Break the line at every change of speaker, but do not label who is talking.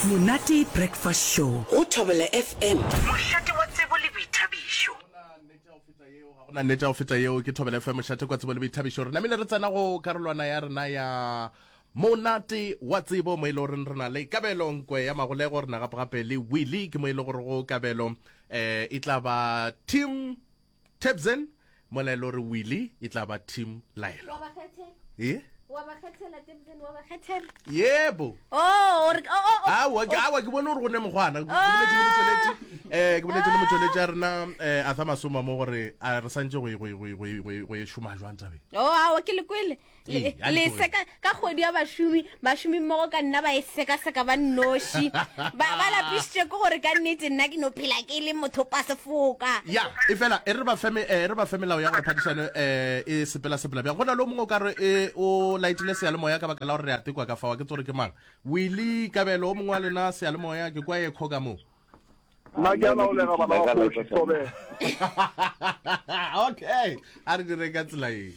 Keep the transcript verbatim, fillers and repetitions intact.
Monate Breakfast Show go Thobela F M.
Mošate wa tsebo le boithabišo.
Ga gona nnete ya go feta yeo. Ke Thobela F M, mošate kwa tsebo le boithabišo. Re namile re tsena go karolwana ya rena ya Monate wa Tsebo, mo e le goreng re na le Kabelo Nkwe ya Magolego, re na gape gape le Willie. Ke mo e le gore go Kabelo um e tla ba Team Tebzen, mola e le gore Willie e tla ba Team Laelo.
Wa ba kgethela?
E?
Wa ba kgethela, Tebzen, wa ba kgethela?
Yebo.
Oh, o re, oh, oh, oh.
Aowa, ke, aowa, ke bone gore go ne mokgwana. Ke boletše le motšweletši, eh, ke boletše le motšweletši a rena, eh, Arthur Masoma mo gore a re santše go e, go e, go e, go e, go e, go e šoma jwang tabeng.
Oh, aowa, ke le kwele. Le,
Ee, a
le
le
seka ka kgwedi ya bašomi, bašomi mmogo ka nna ba e sekaseka ba nnoši. Ba, ba lapišitše ke gore ka nnete nna ke no phela ke le mothopa sefoka.
Ya, efela e re ba fe, e re ba fe melao ya gore phadišano eh, e sepela sepela bjang. Go na le o mongwe o ka re e o laetile seyalemoya ka baka la gore re a tekwa ka fao, ke tsore ke mang. Willie, Kabelo, o mongwe wa lena seyalemoya, ke kwa ekho ka moo.
Nna ke a laolega bana ba kgoši, Thobela.
Okay, a re dire ka tsela ye.